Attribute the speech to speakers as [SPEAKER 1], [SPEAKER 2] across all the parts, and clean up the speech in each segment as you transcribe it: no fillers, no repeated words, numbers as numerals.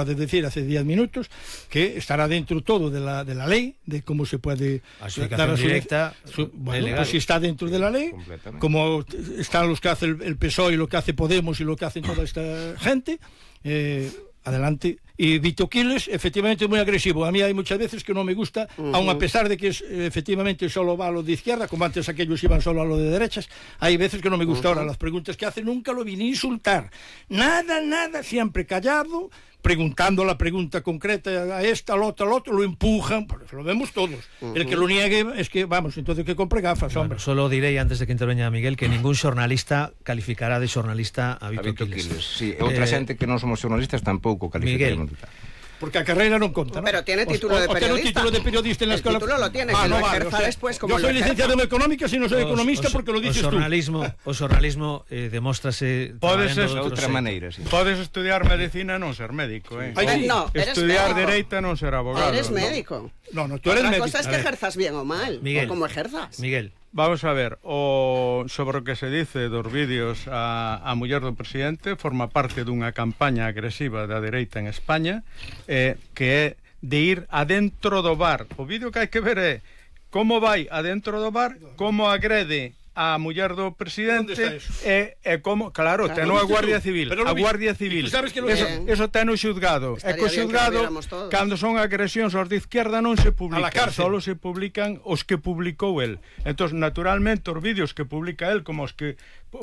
[SPEAKER 1] de decir hace 10 minutos, que estará dentro todo de la ley, de cómo se puede
[SPEAKER 2] dar directa,
[SPEAKER 1] bueno, pues si está dentro de la ley, como están los que hace el PSOE y lo que hace Podemos y lo que hacen toda esta gente, adelante. Y Vito Quiles, efectivamente, es muy agresivo. A mí hay muchas veces que no me gusta, aun a pesar de que efectivamente solo va a lo de izquierda, como antes aquellos iban solo a lo de derechas, hay veces que no me gusta. Ahora, las preguntas que hace nunca lo vine a insultar. Nada, siempre callado, preguntando la pregunta concreta a esta, al otro, lo empujan, pues lo vemos todos. El que lo niegue es que, vamos, entonces que compre gafas, hombre.
[SPEAKER 2] Bueno, solo diré, antes de que intervenga Miguel, que ningún xornalista calificará de xornalista a Vito Quiles.
[SPEAKER 3] Sí, outra xente que non somos xornalistas tampouco calificaremos.
[SPEAKER 1] Porque a carrera non conta, ¿no?
[SPEAKER 4] Pero tiene título de periodista.
[SPEAKER 1] Tiene título de periodista en la escuela.
[SPEAKER 4] El título lo tiene, que lo ejerza después como
[SPEAKER 1] yo soy licenciado en económicas y no soy economista porque lo dices tú.
[SPEAKER 2] O xornalismo demóstrase
[SPEAKER 3] de outra maneira, sí.
[SPEAKER 5] Podes estudiar medicina e non ser médico,
[SPEAKER 4] No,
[SPEAKER 5] estudiar dereita e non ser abogado.
[SPEAKER 4] Eres médico.
[SPEAKER 1] No, tú eres médico.
[SPEAKER 4] Otra cosa es que ejerzas bien o mal,
[SPEAKER 2] Miguel,
[SPEAKER 4] o como ejerzas.
[SPEAKER 2] Miguel,
[SPEAKER 5] vamos a ver, sobre o que se dice dos vídeos a muller do presidente, forma parte dunha campaña agresiva da dereita en España, que é de ir adentro do bar. O vídeo que hai que ver é como vai adentro do bar, como agrede a muller do presidente e como, claro, ten a Guardia Civil. A Guardia Civil, eso ten o xuzgado. E co xuzgado, cando son agresións aos de izquierda non se publican, solo se publican os que publicou el. Entón, naturalmente, os vídeos que publica el, como os que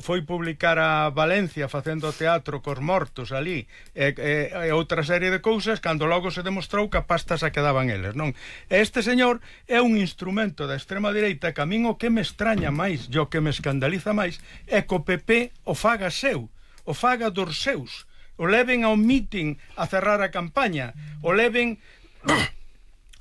[SPEAKER 5] foi publicar a Valencia facendo teatro cos mortos ali e outra serie de cousas, cando logo se demostrou que a pasta se quedaban eles, non? Este señor é un instrumento da extrema direita que a min o que me extraña máis, o que me escandaliza máis, é que o PP o faga seu, o faga dos seus, o leven ao meeting a cerrar a campaña, o leven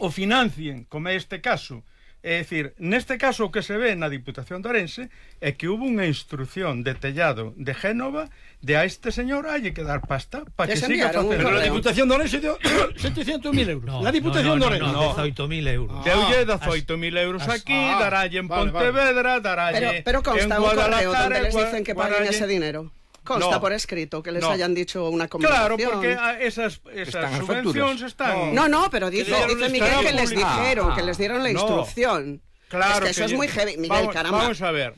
[SPEAKER 5] o financien, como é este caso. É dicir, neste caso o que se ve na Diputación de Ourense é que hubo unha instrucción de Tellado de Génova de a este señor hai que dar pasta para que siga facendo.
[SPEAKER 1] Pero la Diputación de Ourense deu 700.000 euros.
[SPEAKER 2] No,
[SPEAKER 1] la Diputación de Ourense.
[SPEAKER 2] No, 18.000 euros.
[SPEAKER 5] Deulle 18.000 euros aquí, daralle en Pontevedra, daralle
[SPEAKER 4] pero consta
[SPEAKER 5] en
[SPEAKER 4] un correo
[SPEAKER 5] Guadalajara,
[SPEAKER 4] donde les dicen que paguen ese dinero. Consta por escrito que les hayan dicho una conversación.
[SPEAKER 5] Claro, porque esas subvenciones están...
[SPEAKER 4] No, pero dice Miguel que les dijeron, que les dieron la instrucción.
[SPEAKER 5] Claro,
[SPEAKER 4] es que eso es muy heavy, Miguel, caramba.
[SPEAKER 5] Vamos a ver.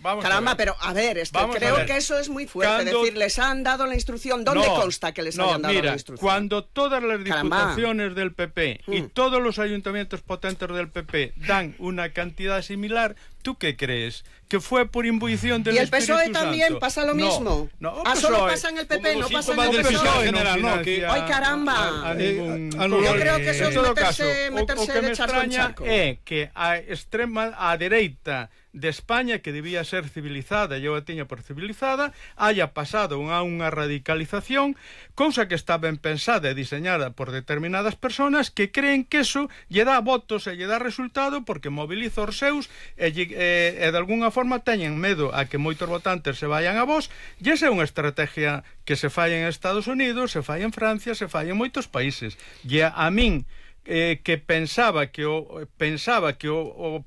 [SPEAKER 4] Pero a ver, creo que eso es muy fuerte. Decir, les han dado la instrucción. ¿Dónde consta que les hayan dado la instrucción?
[SPEAKER 5] Cuando todas las diputaciones del PP y todos los ayuntamientos potentes del PP dan una cantidad similar, ¿tú qué crees? ¿Que fue por imbuición del Espíritu Santo?
[SPEAKER 4] ¿Y el PSOE también pasa lo mismo? Solo pasa en el PP, no pasa en el PSOE general, ¿no? ¡Ay, caramba! Yo creo que eso es meterse de charco en charco.
[SPEAKER 5] É que a dereita de España, que debía ser civilizada, eu a tiña por civilizada, haya pasado a unha radicalización, cousa que está ben pensada e diseñada por determinadas personas que creen que eso lle dá votos e lle dá resultado porque moviliza os seus e de alguna forma teñen medo a que moitos votantes se vayan a vos, e esa é unha estrategia que se fai en Estados Unidos, se fai en Francia, se fai en moitos países. E a min que pensaba que o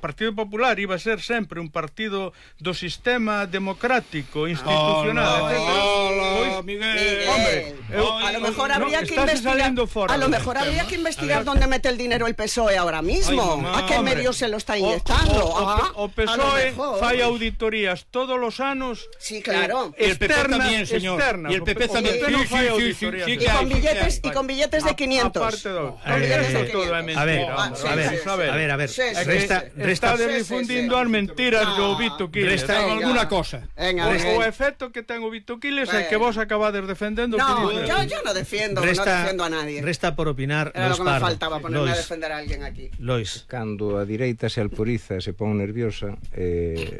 [SPEAKER 5] Partido Popular iba a ser sempre un partido do sistema democrático institucional.
[SPEAKER 1] Hola, Miguel.
[SPEAKER 4] Hombre, a lo mejor habría que investigar. A lo mejor habría que investigar dónde mete el dinero el PSOE ahora mismo. ¿A qué medio se lo está inyectando?
[SPEAKER 5] O PSOE fai auditorías todos los anos.
[SPEAKER 4] Sí, claro.
[SPEAKER 1] Y el PP también, señor. Y el PP también.
[SPEAKER 4] Sí. Y con billetes de 500.
[SPEAKER 5] A ver. Está difundindo as mentiras do Vito Quiles.
[SPEAKER 1] Resta alguna cosa.
[SPEAKER 5] O efecto que ten o Vito Quiles é que vos acabades defendendo.
[SPEAKER 4] No, yo no defiendo a nadie.
[SPEAKER 2] Resta por opinar.
[SPEAKER 4] Era lo que me faltaba, ponerme a defender a alguien aquí.
[SPEAKER 2] Lois.
[SPEAKER 3] Cando a direita se alporiza, se pon nerviosa,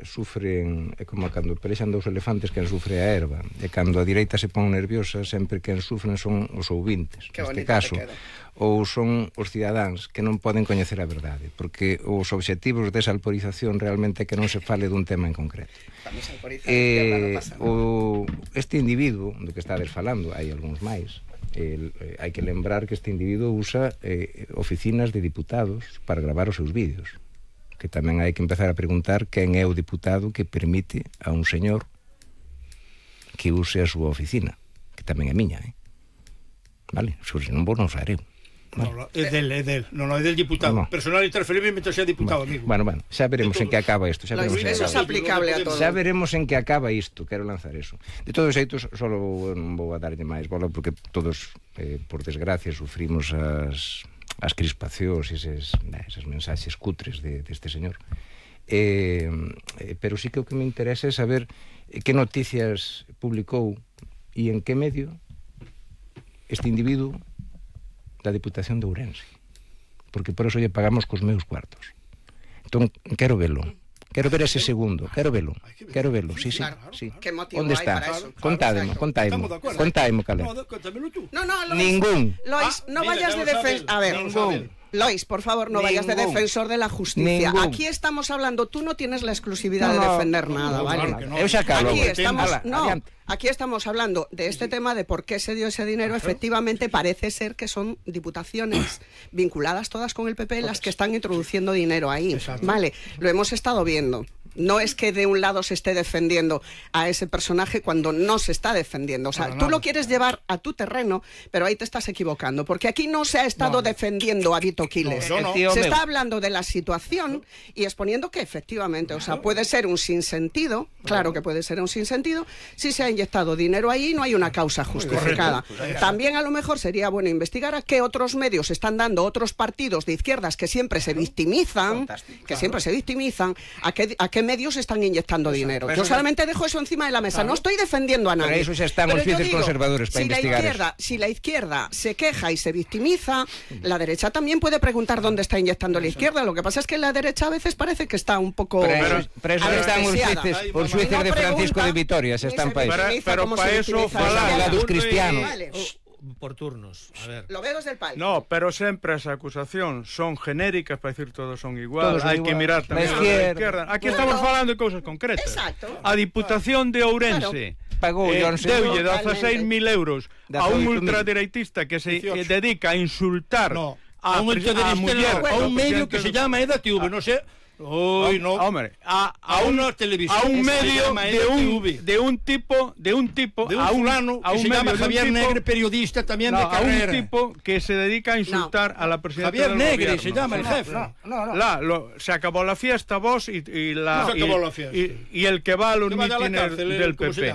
[SPEAKER 3] sufren, é como cando pelexan dous elefantes, quen sufre a erva. E cando a direita se pon nerviosa, sempre quen sufren son os ouvintes. Neste caso, ou son os cidadáns que non poden coñecer a verdade, porque os obxectivos desa alporización realmente é que non se fale dun tema en concreto. Este individuo do que estades falando, hai algúns máis, hai que lembrar que este individuo usa oficinas de diputados para gravar os seus vídeos, que tamén hai que empezar a preguntar quen é o diputado que permite a un señor que use a súa oficina, que tamén é miña, vale? Se non vou non saber eu.
[SPEAKER 1] No, é del. Non, é del diputado. Personal interferible mentre sea diputado, amigo.
[SPEAKER 3] Bueno, xa veremos en que acaba isto.
[SPEAKER 4] Eso é aplicable a todo.
[SPEAKER 3] Xa veremos en que acaba isto. Quero lanzar eso. De todos os xeitos, só non vou a darlle máis bola, porque todos, por desgracia, sufrimos as crispacións e esas mensaxes cutres deste señor. Pero sí que o que me interesa é saber que noticias publicou e en que medio este individuo da Diputación de Ourense, porque por eso lle pagamos cos meus cuartos. Entón, quero velo. Quero ver ese segundo, quero velo, sí. Onde está? Contáimo, calé. Ningún.
[SPEAKER 4] Lois, no vayas de defensa. A ver, Lois, por favor, no vayas de defensor de la justicia. Aquí estamos hablando, tú no tienes la exclusividad de defender nada, ¿vale? Aquí estamos hablando de este tema de por qué se dio ese dinero. Efectivamente, parece ser que son diputaciones vinculadas todas con el PP las que están introduciendo dinero ahí, ¿vale? Lo hemos estado viendo. No es que de un lado se esté defendiendo a ese personaje cuando no se está defendiendo. O sea, tú lo quieres llevar a tu terreno, pero ahí te estás equivocando. Porque aquí no se ha estado defendiendo a Vito Quiles. Se está hablando de la situación y exponiendo que efectivamente, o sea, puede ser un sinsentido, claro que puede ser un sinsentido, si se ha inyectado dinero ahí y no hay una causa justificada. También a lo mejor sería bueno investigar a qué otros medios están dando otros partidos de izquierdas que siempre se victimizan, a qué medios están inyectando dinero. Yo solamente dejo eso encima de la mesa. No estoy defendiendo a nadie.
[SPEAKER 3] Pero eso ya están los fieles conservadores para investigar.
[SPEAKER 4] Si la izquierda se queja y se victimiza, la derecha también puede preguntar dónde está inyectando la izquierda. Lo que pasa es que la derecha a veces parece que está un poco
[SPEAKER 3] pero eso están os jueces de Francisco de Vitoria, se están para eso.
[SPEAKER 5] Pero para eso
[SPEAKER 3] fala dos cristianos.
[SPEAKER 2] Por turnos, a ver.
[SPEAKER 4] Lo veo desde el palco.
[SPEAKER 5] No, pero sempre as acusacións son genéricas para decir todos son iguales. Hai que mirar tamén a izquierda. Aquí estamos falando de cousas concretas.
[SPEAKER 4] Exacto.
[SPEAKER 5] A Diputación de Ourense deulle 16.000 euros a un ultradereitista que se dedica a insultar
[SPEAKER 1] a un medio que se llama EDATV, no sé.
[SPEAKER 5] Hombre, a una televisión, a un medio de un tipo a un fulano
[SPEAKER 1] que se llama Javier Negre, periodista también de carrera,
[SPEAKER 5] a un tipo que se dedica a insultar a la presidenta
[SPEAKER 1] Javier Negre se llama el jefe.
[SPEAKER 5] Se acabó la fiesta, vos y el que va a los mítines del PP.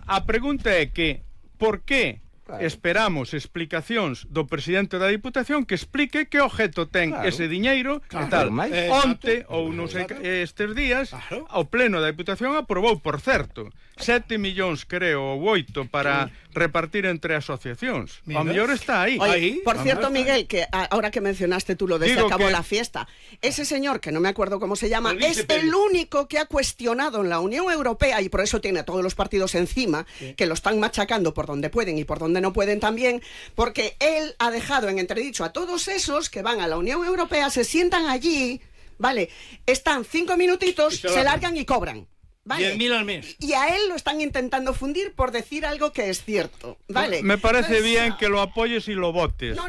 [SPEAKER 5] A pregunta é que por qué esperamos explicacións do presidente da Diputación que explique que objeto ten ese diñeiro e tal. Onte, ou non sei estes días, o pleno da Diputación aprobou, por certo, 7 millóns, creo, ou 8 para repartir entre asociacións. O mellor está aí.
[SPEAKER 4] Oye, por cierto, Miguel, que ahora que mencionaste tú lo de se acabó la fiesta, ese señor, que no me acuerdo cómo se llama, es el único que ha cuestionado en la Unión Europea, y por eso tiene a todos los partidos encima, que lo están machacando por donde pueden y por donde no pueden también, porque él ha dejado en entredicho a todos esos que van a la Unión Europea, se sientan allí, ¿vale? Están 5 minutitos, se largan y cobran. ¿Vale?
[SPEAKER 1] 10.000 al mes.
[SPEAKER 4] Y a él lo están intentando fundir por decir algo que es cierto, ¿vale?
[SPEAKER 5] Me parece bien que lo apoyes y lo votes.
[SPEAKER 4] No.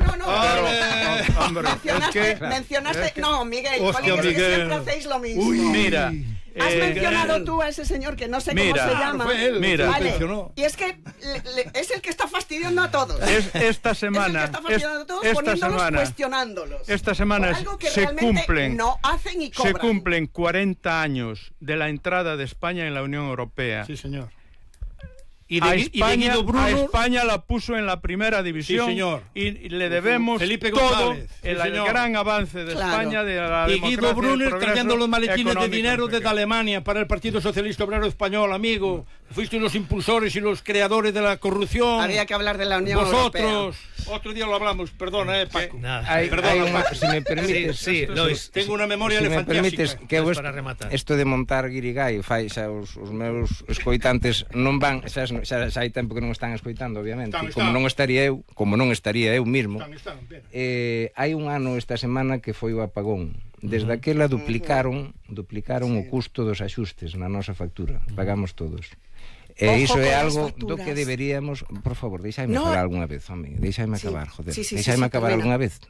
[SPEAKER 4] Mencionaste... No, Miguel,
[SPEAKER 1] Hostia,
[SPEAKER 4] Miguel, que siempre hacéis lo mismo.
[SPEAKER 5] Mira...
[SPEAKER 4] Has mencionado tú a ese señor que no sé cómo se llama.
[SPEAKER 5] Vale.
[SPEAKER 4] Y es que es el que está fastidiando a todos.
[SPEAKER 5] Esta semana,
[SPEAKER 4] es el que está fastidiando a todos, poniéndolos, cuestionándolos.
[SPEAKER 5] Esta semana se cumplen 40 años de la entrada de España en la Unión Europea.
[SPEAKER 1] Sí, señor.
[SPEAKER 5] A España la puso en la primera división,
[SPEAKER 1] sí, señor.
[SPEAKER 5] Y le debemos
[SPEAKER 1] Felipe
[SPEAKER 5] todo
[SPEAKER 1] González,
[SPEAKER 5] el gran avance de España, de la democracia.
[SPEAKER 1] Y Guido Brunner trayendo los maletines de dinero desde Alemania para el Partido Socialista Obrero Español, amigo. Fuiste los impulsores y los creadores de la corrupción.
[SPEAKER 4] Había que hablar de la Unión Europea.
[SPEAKER 1] Vosotros, otro día lo hablamos, perdona, Paco.
[SPEAKER 3] Si me permites,
[SPEAKER 1] Lois, tengo una memoria elefantiásica.
[SPEAKER 3] Que para rematar. Esto de montar guirigay fai xa os meus escoitantes non van, xa hai tempo que non están escoitando, obviamente. Como non estaría eu mismo. Hai un ano esta semana que foi o apagón. Desde aquela duplicaron o custo dos axustes na nosa factura. Pagamos todos. E iso é algo do que deberíamos, por favor, deixaime falar algunha vez, home, deixaime acabar, joder. Deixaime acabar algunha vez.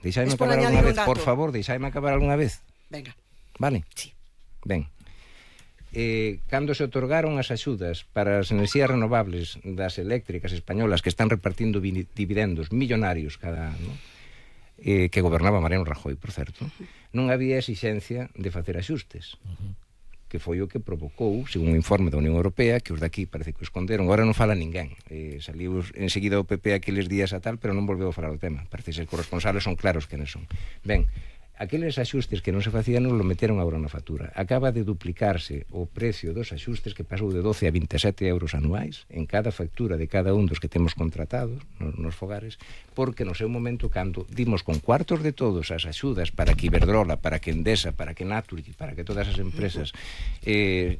[SPEAKER 3] Por favor, deixaime acabar algunha vez.
[SPEAKER 4] Venga.
[SPEAKER 3] Vale?
[SPEAKER 4] Sí.
[SPEAKER 3] Ben. cando se otorgaron as axudas para as enerxías renovables das eléctricas españolas que están repartindo dividendos millonarios cada ano, que gobernaba Mariano Rajoy, por certo, non había exixencia de facer axustes, que foi o que provocou, según un informe da Unión Europea, que os daqui parece que o esconderon, agora non fala ninguén, saliu enseguida o PP aqueles días a tal, pero non volveu a falar do tema, parece ser que os responsables son claros quenes son. Ben, aqueles axustes que non se facían non lo meteron agora na factura. Acaba de duplicarse o precio dos axustes, que pasou de 12 a 27 euros anuais en cada factura de cada un dos que temos contratados nos fogares, porque no seu momento, cando dimos con cuartos de todos as axudas para que Iberdrola, para que Endesa, para que Naturgy, para que todas as empresas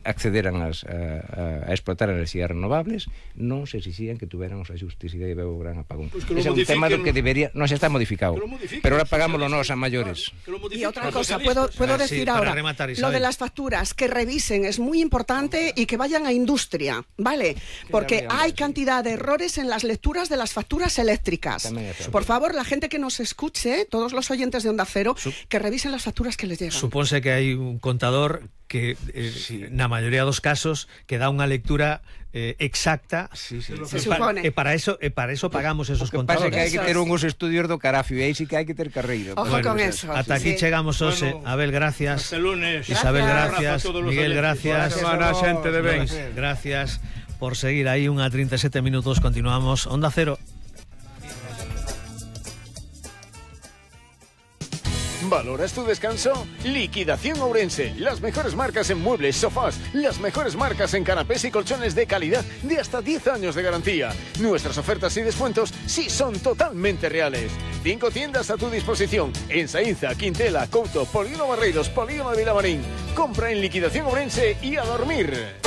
[SPEAKER 3] accederan a explotar enerxías renovables, non se exixían que tuveran os axustes, e daí veo o gran apagón. Pues ese é un tema do que debería, non se está modificado, pero ahora pagámoslo nós a maiores.
[SPEAKER 4] Y otra cosa, puedo decir ahora, lo de las facturas, que revisen, es muy importante, y que vayan a industria, ¿vale? Porque hay cantidad de errores en las lecturas de las facturas eléctricas. Por favor, la gente que nos escuche, todos los oyentes de Onda Cero, que revisen las facturas que les llegan.
[SPEAKER 2] Supónse que hai un contador que na maioría dos casos que dá unha lectura exacta.
[SPEAKER 4] Se supone.
[SPEAKER 2] E para eso pagamos esos contadores.
[SPEAKER 3] O que pasa que hai que ter uns estudios do carafio, e aí sí que hai que ter carreira.
[SPEAKER 4] Ojo con eso.
[SPEAKER 2] Ata aquí chegamos hoxe. Abel, gracias. Isabel, gracias. Miguel, gracias.
[SPEAKER 5] Xente de ben.
[SPEAKER 2] Gracias por seguir aí. 1:37 minutos, continuamos. Onda Cero.
[SPEAKER 6] ¿Valoras tu descanso? Liquidación Ourense. Las mejores marcas en muebles, sofás, las mejores marcas en canapés y colchones de calidad de hasta 10 años de garantía. Nuestras ofertas y descuentos sí son totalmente reales. 5 tiendas a tu disposición en Saínza, Quintela, Couto, Polígono Barreiros, Polígono de Vilamarín. Compra en Liquidación Ourense y a dormir.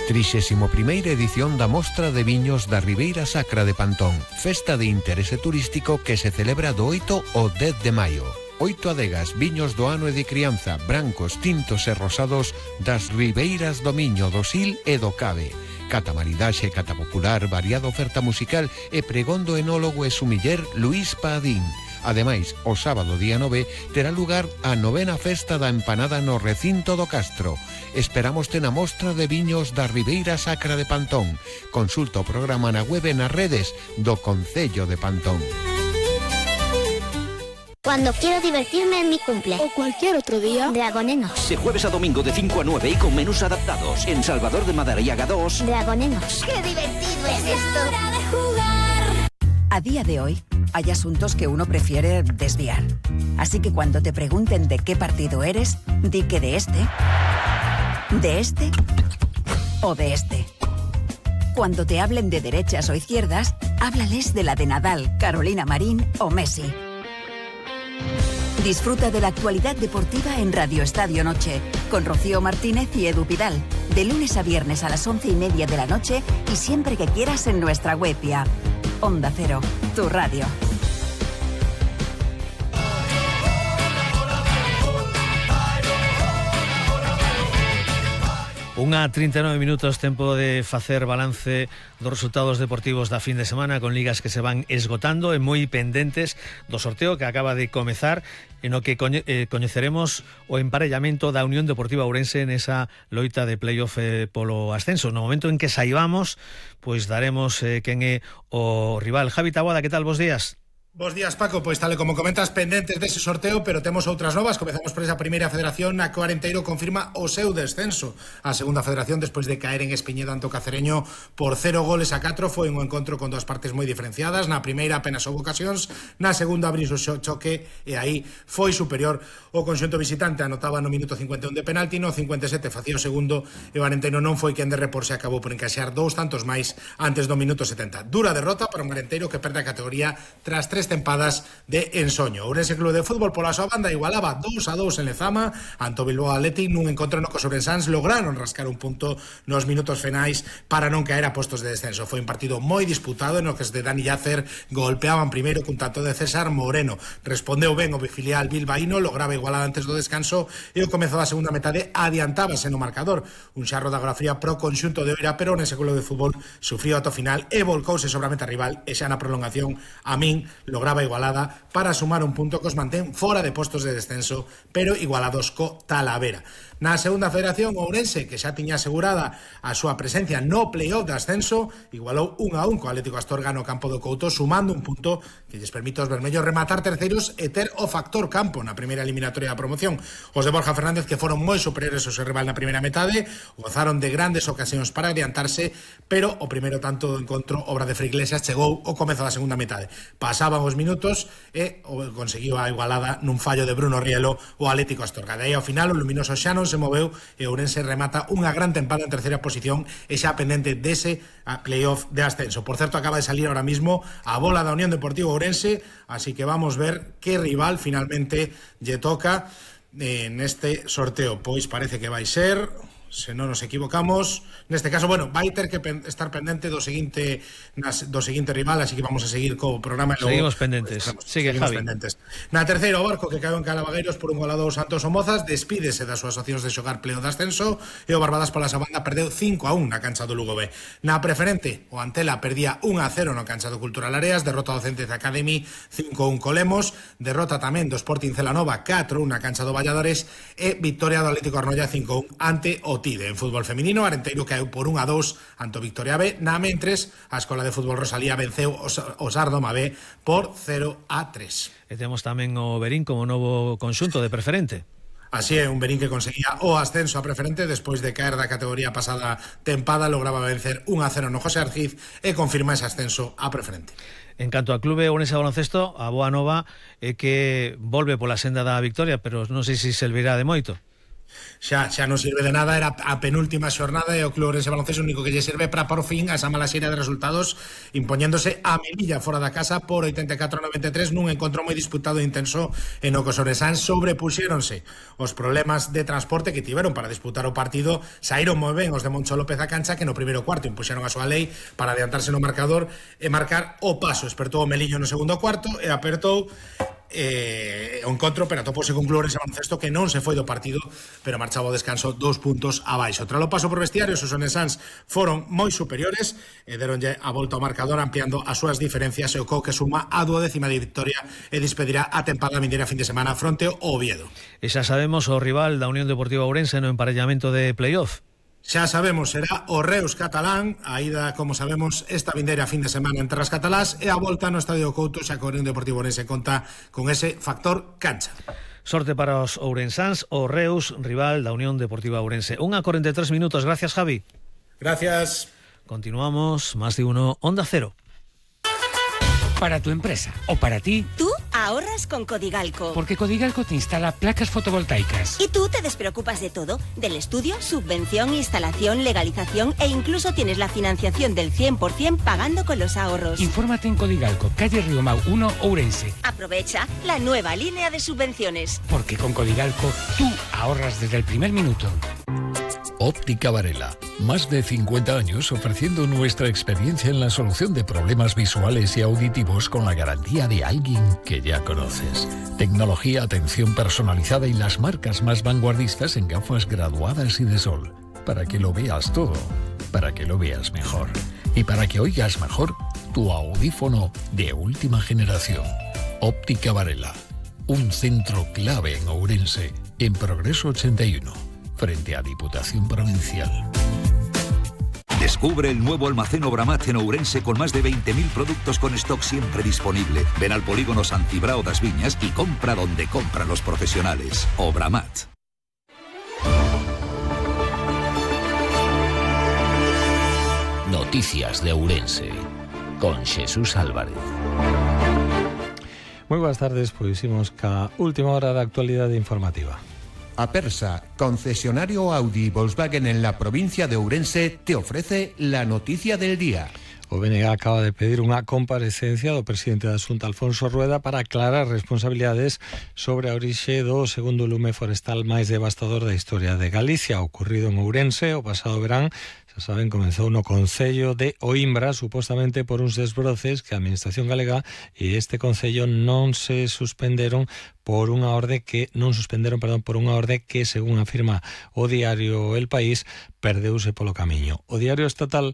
[SPEAKER 7] 31ª edición da Mostra de Viños da Ribeira Sacra de Pantón, festa de interese turístico que se celebra do 8 ao 10 de maio. 8 adegas, viños do ano e de crianza, brancos, tintos e rosados das ribeiras do Miño, do Sil e do Cabe. Cata maridaxe, cata popular, variada oferta musical e pregón do enólogo e sumiller Luís Padín. Ademais, o sábado día 9 terá lugar a 9ª festa da empanada no recinto do Castro. Esperámoste na Mostra de Viños da Ribeira Sacra de Pantón. Consulta o programa na web e nas redes do Concello de Pantón.
[SPEAKER 8] Cuando quiero divertirme en mi cumple
[SPEAKER 9] o cualquier otro día,
[SPEAKER 8] Dragonenos.
[SPEAKER 10] De jueves a domingo de 5 a 9 y con menús adaptados. En Salvador de Madariaga 2.
[SPEAKER 8] Dragonenos. ¡Qué divertido es esto!
[SPEAKER 11] A día de hoy, hay asuntos que uno prefiere desviar. Así que cuando te pregunten de qué partido eres, di que de este o de este. Cuando te hablen de derechas o izquierdas, háblales de la de Nadal, Carolina Marín o Messi. Disfruta de la actualidad deportiva en Radio Estadio Noche, con Rocío Martínez y Edu Pidal, de lunes a viernes a las 11:30 de la noche y siempre que quieras en nuestra web y app. Onda Cero, tu radio.
[SPEAKER 2] 1:39 minutos, tempo de facer balance dos resultados deportivos da fin de semana, con ligas que se van esgotando e moi pendentes do sorteo que acaba de comezar, en o que coñeceremos o emparellamento da Unión Deportiva Ourense nesa loita de playoff polo ascenso. No momento en que saibamos, pois daremos quen é o rival. Javi Taboada, que tal? Bos días.
[SPEAKER 12] Bos días, Paco. Pois tal e como comentas, pendentes dese sorteo, pero temos outras novas. Comezamos por esa primeira federación, a que o Arenteiro confirma o seu descenso. A segunda federación, despois de caer en Espiñedo ante o Cacereño por 0-4, foi un encontro con dúas partes moi diferenciadas. Na primeira apenas houve ocasións, na segunda abriu o choque e aí foi superior o conxunto visitante. Anotaba no minuto 51 de penalti, no 57 facía o segundo e o Arenteiro non foi quen de reporse, acabou por encaixar 2 tantos máis antes do minuto 70. Dura derrota para un Arenteiro que perde a categoría tras 3 tempadas de ensoño. Ourense Club de Fútbol pola súa banda igualaba 2-2 en Lezama ante o Bilbao Athletic nun encontro no que os ourensáns lograron rascar un punto nos minutos finais para non caer a postos de descenso. Foi un partido moi disputado en o que os de Dani Yacer golpeaban primeiro cun tanto de César Moreno. Respondeu ben o filial bilbaíno, lograba igualar antes do descanso e o comezo da segunda metade adiantábase no marcador. Un xarro de agua fría pro conxunto de Oira, pero nese Club de Fútbol sufriu ata o final e volcouse sobre a meta rival e xa na prolongación a min lograba Igualada para sumar un punto que os mantén fora de postos de descenso, pero igualados co Talavera. Na segunda federación, Ourense, que xa tiña asegurada a súa presencia no playoff de ascenso, igualou 1-1 co Atlético Astorga no campo do Couto, sumando un punto que lles permite aos vermellos rematar terceiros e ter o factor campo na primeira eliminatoria da promoción. Os de Borja Fernández, que foron moi superiores ao seu rival na primeira metade, gozaron de grandes ocasións para adiantarse, pero o primeiro tanto do encontro, obra de Fray Iglesias, chegou ao comezo da segunda metade. Pasaban os minutos e conseguiu a igualada nun fallo de Bruno Rielo o Atlético Astorga. De aí ao final, o luminoso xa non se moveu e Ourense remata unha gran tempada en terceira posición e xa pendente dese playoff de ascenso. Por certo, acaba de salir ahora mismo a bola da Unión Deportiva Ourense, así que vamos ver que rival finalmente lle toca neste sorteo. Pois parece que vai ser, se non nos equivocamos, neste caso, bueno, vai ter que estar pendente do seguinte rival, así que vamos a seguir co programa.
[SPEAKER 2] Seguimos pendentes. Sigue, Javi.
[SPEAKER 12] Pendentes. Na terceira, o Barco, que caeu en Calavagueiros por un golado aos Santos Somozas, despídese das súas opcións de xogar pleo de ascenso, e o Barbadas pola Sabanda perdeu 5-1 na cancha do Lugo B. Na preferente, o Antela perdía 1-0 na cancha do Cultural Areas, derrota do Centez Academy 5-1 co Lemos, derrota tamén do Sporting Celanova 4-1 na cancha do Valladares, e victoria do Atlético Arnoia 5-1 ante o Tide. En fútbol feminino, Arenteiro caeu por 1-2 ante o Victoria B. Na mentres, a Escola de Fútbol Rosalía venceu o Sardoma B por 0-3.
[SPEAKER 2] E temos tamén o Berín como novo conxunto de preferente.
[SPEAKER 12] Así é, un Berín que conseguía o ascenso a preferente despois de caer da categoría pasada tempada, lograba vencer 1-0 no José Arciz e confirma ese ascenso a preferente.
[SPEAKER 2] En canto ao clube Ourense Baloncesto, a boa nova é que volve pola senda da victoria, pero non sei se servirá de moito.
[SPEAKER 12] Xa non sirve de nada, era a penúltima xornada e o Club Ourense Baloncesto o único que lle serve para por fin a esa mala serie de resultados, impoñéndose a Melilla fora da casa por 84-93 nun encontro moi disputado e intenso en o que os ourensáns sobrepuxéronse os problemas de transporte que tiveron para disputar o partido. Saíron moi ben os de Moncho López a cancha, que no primeiro cuarto impuxeron a súa lei para adiantarse no marcador e marcar o paso. Espertou o Melillo no segundo cuarto e apertou o encontro, pero atopose con Club Ourense Baloncesto que non se foi do partido, pero marchaba o descanso 2 puntos abaixo. Tras o paso por vestiarios, os ourensáns foron moi superiores e deronlle a volta ao marcador, ampliando as súas diferencias, e o que suma a 12ª victoria e despedirá a tempada vindeira fin de semana fronte ao Oviedo.
[SPEAKER 2] E xa sabemos o rival da Unión Deportiva Ourense no emparellamento de playoff.
[SPEAKER 12] Xa sabemos, será o Reus catalán, a ida, como sabemos, esta vindeira fin de semana entre as catalás, e a volta no Estadio Couto, xa que o Unión Deportivo Ourense conta con ese factor cancha.
[SPEAKER 2] Sorte para os ourensáns, o Reus, rival da Unión Deportiva Ourense. 1:43 minutos, gracias, Javi.
[SPEAKER 12] Gracias.
[SPEAKER 2] Continuamos, más de uno, Onda Cero.
[SPEAKER 9] Para tu empresa o para ti,
[SPEAKER 13] tú ahorras con Codigalco.
[SPEAKER 9] Porque Codigalco te instala placas fotovoltaicas.
[SPEAKER 13] Y tú te despreocupas de todo, del estudio, subvención, instalación, legalización e incluso tienes la financiación del 100% pagando con los ahorros.
[SPEAKER 9] Infórmate en Codigalco, calle Riomau 1, Ourense.
[SPEAKER 13] Aprovecha la nueva línea de subvenciones.
[SPEAKER 9] Porque con Codigalco tú ahorras desde el primer minuto.
[SPEAKER 14] Óptica Varela, más de 50 años ofreciendo nuestra experiencia en la solución de problemas visuales y auditivos con la garantía de alguien que ya conoces. Tecnología, atención personalizada y las marcas más vanguardistas en gafas graduadas y de sol. Para que lo veas todo, para que lo veas mejor. Y para que oigas mejor, tu audífono de última generación. Óptica Varela, un centro clave en Ourense, en Progreso 81. Frente a Diputación Provincial.
[SPEAKER 10] Descubre el nuevo almacén Obramat en Ourense con más de 20.000 productos con stock siempre disponible. Ven al polígono San Cibrao das Viñas y compra donde compran los profesionales. Obramat.
[SPEAKER 15] Noticias de Ourense con Jesús Álvarez.
[SPEAKER 16] Moi boas tardes, pois imos ca última hora da actualidade informativa.
[SPEAKER 7] Apersa, concesionario Audi Volkswagen en la provincia de Ourense, te ofrece la noticia del día.
[SPEAKER 16] O BNG acaba de pedir unha comparecencia do presidente da Xunta, Alfonso Rueda, para aclarar responsabilidades sobre a orixe do segundo lume forestal máis devastador da historia de Galicia, ocurrido en Ourense o pasado verán. Xa saben, comenzou no concello de Oimbra, supostamente por uns desbroces que a Administración Galega e este concello non suspenderon por unha orde que, según afirma o diario El País, perdeuse polo camiño. O diario estatal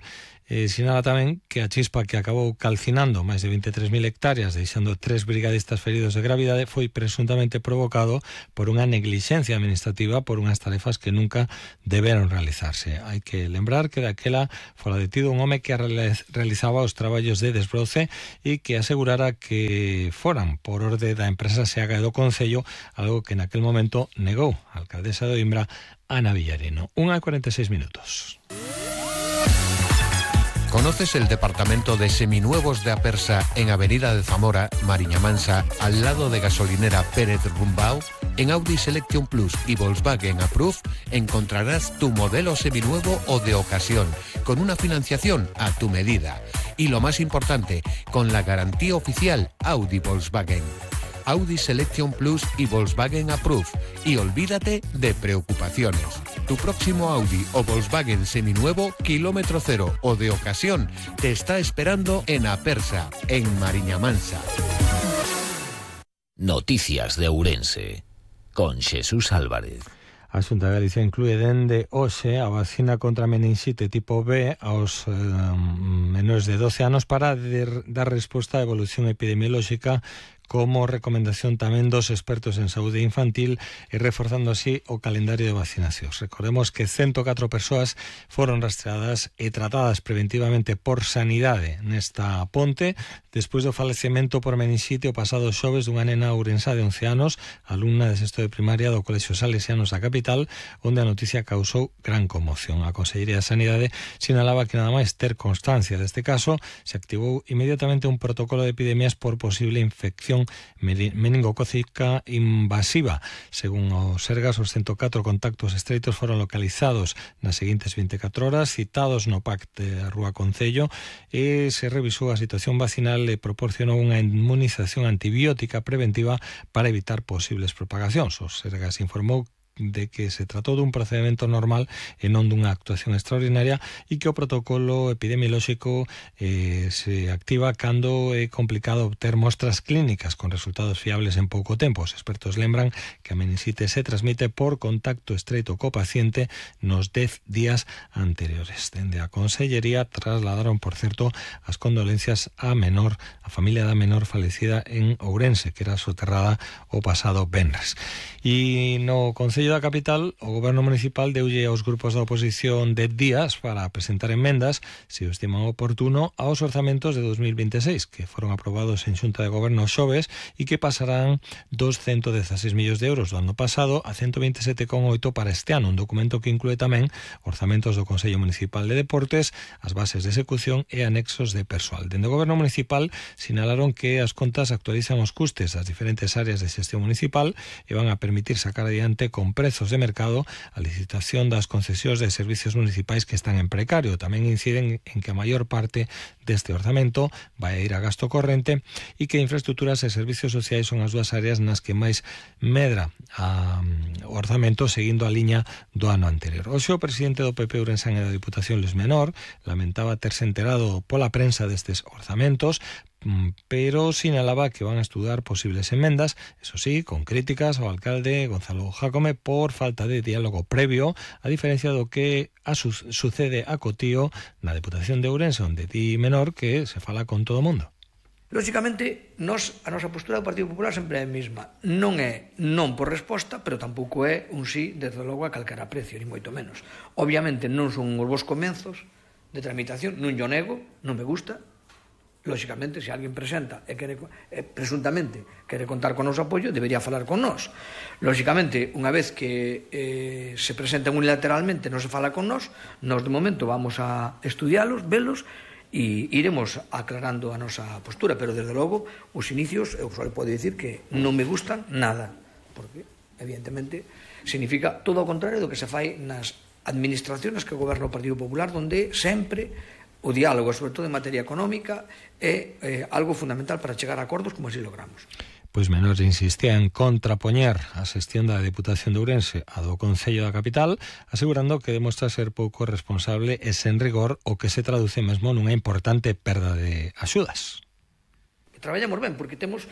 [SPEAKER 16] Sinala tamén que a chispa que acabou calcinando máis de 23.000 hectáreas, deixando 3 brigadistas feridos de gravidade, foi presuntamente provocado por unha neglixencia administrativa por unhas tarefas que nunca deberon realizarse. Hai que lembrar que daquela fora detido un home que realizaba os traballos de desbroce e que asegurara que foran por orde da empresa SEAGA do Concello, algo que naquel momento negou a alcaldesa de Oimbra, Ana Villarino. 1:46 minutos.
[SPEAKER 7] ¿Conoces el departamento de seminuevos de Apersa en Avenida de Zamora, Mariña Mansa, al lado de gasolinera Pérez Rumbao? En Audi Selection Plus y Volkswagen Approve encontrarás tu modelo seminuevo o de ocasión, con una financiación a tu medida. Y lo más importante, con la garantía oficial Audi Volkswagen. Audi Selection Plus y Volkswagen Approve. Y olvídate de preocupaciones. Tu próximo Audi o Volkswagen seminuevo, kilómetro cero o de ocasión, te está esperando en Apersa, en Mariña Mansa.
[SPEAKER 15] Noticias de Ourense, con Xesús Álvarez.
[SPEAKER 16] A Xunta de Galicia inclúe dende hoxe a vacina contra meningite tipo B aos menores de 12 anos para dar resposta á evolución epidemiolóxica, como recomendación tamén dos expertos en saúde infantil, e reforzando así o calendario de vacinacións. Recordemos que 104 persoas foron rastreadas e tratadas preventivamente por Sanidade nesta ponte, despois do falecemento por meningite o pasado xoves dunha nena ourensá de 11 anos, alumna de sexto de primaria do Colexio Salesianos da capital, onde a noticia causou gran conmoción. A Consellería de Sanidade sinalaba que nada máis ter constancia deste caso, se activou inmediatamente un protocolo de epidemias por posible infección meningocócica invasiva. Según o Sergas, os 104 contactos estreitos foron localizados nas seguintes 24 horas, citados no PAC de Rúa Concello, e se revisou a situación vacinal e proporcionou unha inmunización antibiótica preventiva para evitar posibles propagacións. O Sergas informou de que se tratou dun procedimento normal e non dunha actuación extraordinaria, e que o protocolo epidemiolóxico se activa cando é complicado obter mostras clínicas con resultados fiables en pouco tempo. Os expertos lembran que a meningite se transmite por contacto estreito co paciente nos 10 días anteriores. Dende a Consellería trasladaron, por certo, as condolencias á familia da menor falecida en Ourense, que era soterrada o pasado venres. E no Concello da capital, o Goberno Municipal deulle aos grupos da oposición 10 días para presentar enmendas, se o estiman oportuno, aos orzamentos de 2026, que foron aprobados en Xunta de Goberno xoves e que pasarán dos 116 millóns de euros do ano pasado a 127,8 para este ano, un documento que inclúe tamén orzamentos do Consello Municipal de Deportes, as bases de execución e anexos de persoal. Dende o Goberno Municipal sinalaron que as contas actualizan os custes das diferentes áreas de xestión municipal e van a permitir sacar adiante con prezos de mercado a licitación das concesións de servicios municipais que están en precario. Tamén inciden en que a maior parte deste orzamento vai a ir a gasto corrente e que infraestructuras e servicios sociais son as dúas áreas nas que máis medra o orzamento, seguindo a liña do ano anterior. Hoxe o presidente do PP Ourensán e da Diputación, Luis Menor, lamentaba terse enterado pola prensa destes orzamentos, pero sinalaba que van a estudar posibles enmendas, eso sí, con críticas ao alcalde Gonzalo Jácome por falta de diálogo previo, a diferencia do que sucede a Cotío na Deputación de Ourense, onde di Menor que se fala con todo o mundo.
[SPEAKER 17] Lóxicamente, a nosa postura do Partido Popular sempre é a mesma. Non é non por resposta, pero tampouco é un sí, desde logo, a calquera precio, ni moito menos. Obviamente non son os vos comenzos de tramitación, non yo nego, non me gusta. Lóxicamente, se alguén presenta e presuntamente quere contar con o noso apoio, debería falar con nós. Lóxicamente, unha vez que se presenten unilateralmente, non se fala con nós de momento vamos a estudialos, velos, e iremos aclarando a nosa postura, pero desde logo os inicios eu só podo dicir que non me gustan nada, porque evidentemente significa todo o contrario do que se fai nas administracións que goberna o Partido Popular, onde sempre o diálogo, sobre todo en materia económica, é algo fundamental para chegar a acordos como así logramos.
[SPEAKER 16] Pois Menor insistía en contrapoñer a xestión da Deputación de Ourense a do Concello da capital, asegurando que demostra ser pouco responsable e sen rigor, o que se traduce mesmo nunha importante perda de axudas.
[SPEAKER 17] Traballamos ben, porque temos,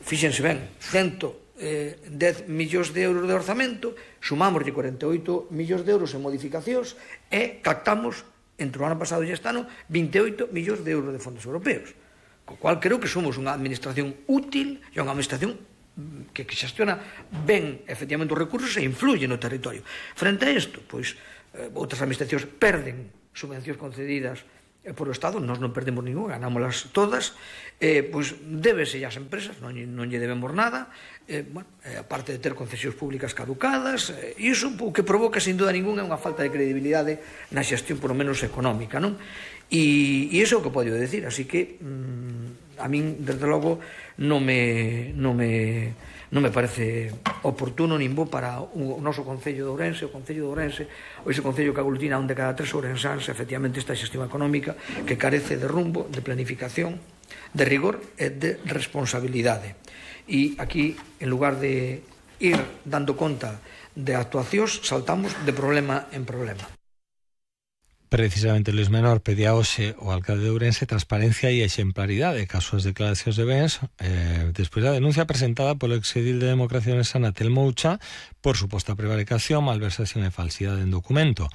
[SPEAKER 17] fíxense ben, 110 millóns de euros de orzamento, sumamos de 48 millóns de euros en modificacións e captamos entre o ano pasado e este ano 28 millóns de euros de fondos europeos, co cual creo que somos unha administración útil e unha administración que xestiona ben efectivamente os recursos e influye no territorio. Frente a isto, pois outras administracións perden subvencións concedidas por o Estado, nós non perdemos ninguna, ganámolas todas, pois débese ás empresas, non lle debemos nada, aparte de ter concesións públicas caducadas, e iso o que provoca, sin duda ninguna, é unha falta de credibilidade na xestión, por lo menos económica, non? E iso é o que podo decir, así que a min, desde logo, non me parece oportuno nin bo para o noso Concello de Ourense, o Concello de Ourense, ou ese Concello que aglutina onde cada 3 ourensáns, efectivamente, esta xestión económica que carece de rumbo, de planificación, de rigor e de responsabilidade. E aquí, en lugar de ir dando conta de actuacións, saltamos de problema en problema.
[SPEAKER 16] Precisamente Luis Menor pedía hoxe o alcalde de Ourense transparencia e exemplaridade caso as declaracións de bens despois da denuncia presentada polo exedil de Democracia Ourense Telmo Ucha por suposta prevaricación, malversación e falsidade en documento.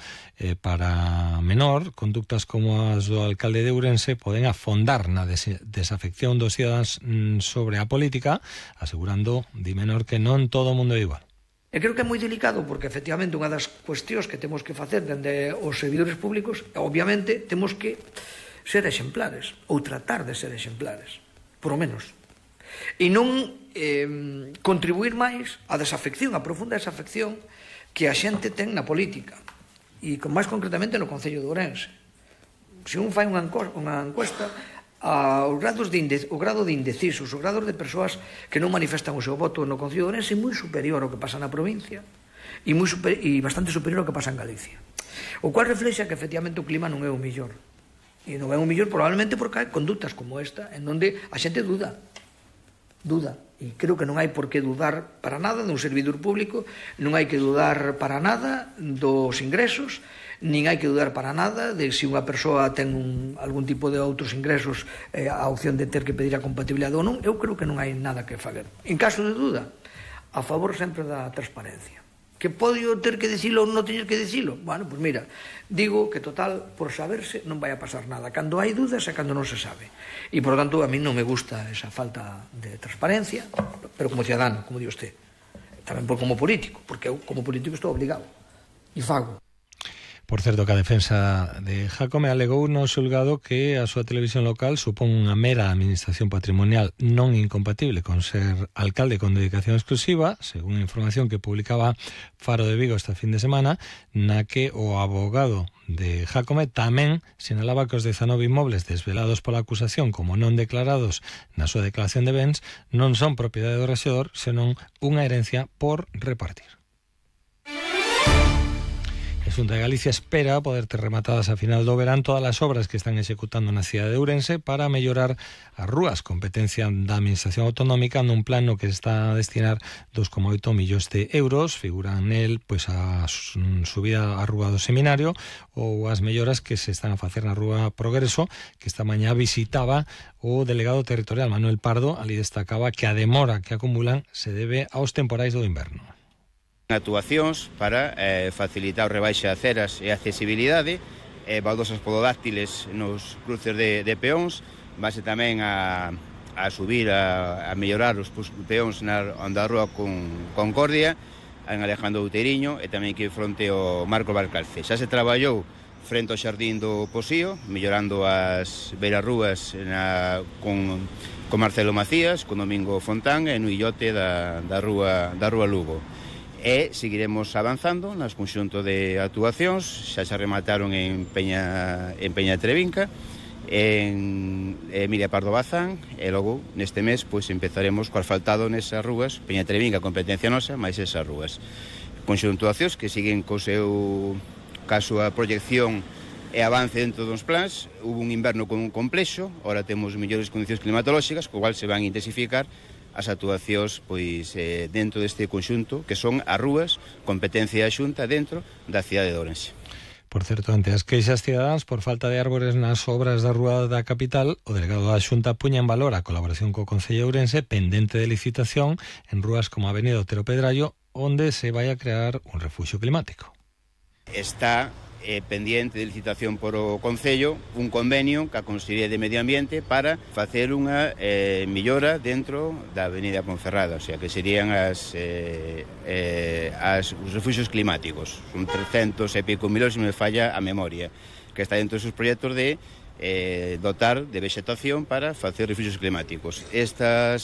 [SPEAKER 16] Para Menor, conductas como as do alcalde de Ourense poden afondar na desafección dos cidadáns sobre a política, asegurando, di Menor, que non todo o mundo é igual.
[SPEAKER 17] E creo que é moi delicado porque, efectivamente, unha das cuestións que temos que facer dende os servidores públicos, obviamente, temos que ser exemplares, ou tratar de ser exemplares, por o menos. E non contribuir máis á desafección, á profunda desafección que a xente ten na política, e máis concretamente no Concello de Ourense. Se un fai unha encuesta, o grado de indecisos, o grado de persoas que non manifestan o seu voto no Concello de Ourense é moi superior ao que pasa na provincia e bastante superior ao que pasa en Galicia, o cual reflexa que efectivamente o clima non é o mellor, e non é o mellor probablemente porque hai conductas como esta en onde a xente duda, e creo que non hai por que dudar para nada dun servidor público, non hai que dudar para nada dos ingresos, nin hai que dudar para nada de se unha persoa ten algún tipo de outros ingresos, a opción de ter que pedir a compatibilidade ou non. Eu creo que non hai nada que fazer. En caso de duda, a favor sempre da transparencia. Que podo ter que dicilo ou non teñer que dicilo? Bueno, pois mira, digo que total, por saberse, non vai a pasar nada. Cando hai dudas é cando non se sabe. E, por lo tanto, a mí non me gusta esa falta de transparencia, pero como ciudadano, como di usted. Tamén como político, porque eu como político estou obligado. E fago.
[SPEAKER 16] Por certo, que a defensa de Jácome alegou no xulgado que a súa televisión local supón unha mera administración patrimonial non incompatible con ser alcalde con dedicación exclusiva, según a información que publicaba Faro de Vigo esta fin de semana, na que o abogado de Jácome tamén sinalaba que os 19 inmobles desvelados pola acusación como non declarados na súa declaración de bens non son propiedade do rexedor, senón unha herencia por repartir. A Xunta de Galicia espera poder ter rematadas a final do verán todas as obras que están executando na cidade de Ourense para mellorar as rúas, competencia da Administración Autonómica nun plan no que está a destinar 2,8 millóns de euros. Figuran nel pois a subida á rúa do Seminario ou as melloras que se están a facer na rúa Progreso, que esta mañá visitaba o delegado territorial Manuel Pardo. Ali destacaba que a demora que acumulan se debe aos temporais do inverno.
[SPEAKER 18] Actuacións para facilitar o rebaixe de aceras e a accesibilidade, baldosas pododáctiles nos cruces de peóns, base tamén a subir, a mellorar os peóns na rúa con Concordia, en Alejandro Outeiriño, e tamén que fronte ao Marco Valcarce. Xa se traballou frente ao Xardín do Posío, mellorando as beirarrúas con Marcelo Macías, con Domingo Fontán, e no illote da rúa Lugo. E seguiremos avanzando nas conxunto de actuacións. Xa se remataron en Peña Trevinca, en Emilia Pardo Bazán, e logo neste mes pois empezaremos co asfaltado nesas rúas. Peña Trevinca, competencia nosa, máis esas rúas. Conxunto de actuacións que siguen co seu caso a proyección e avance dentro dos plans. Hubo un inverno con un complexo, ora temos mellores condicións climatolóxicas, co cual se van a intensificar as actuacións pois dentro deste conxunto, que son as rúas, competencia da Xunta dentro da cidade de Ourense.
[SPEAKER 16] Por certo, ante as queixas cidadáns por falta de árbores nas obras da rúa da capital, o delegado da Xunta puña en valor a colaboración co Concello de Ourense pendente de licitación en rúas como a Avenida Otero Pedrallo, onde se vai a crear un refuxio climático.
[SPEAKER 18] Está pendiente de licitación por o Concello un convenio ca Consellería de Medio Ambiente para facer unha millora dentro da Avenida Ponferrada, o sea, que serían os refuxios climáticos. Son 300 e pico mil, se me falla a memoria, que está dentro dos proxectos de dotar de vegetación para facer refuxios climáticos. Estas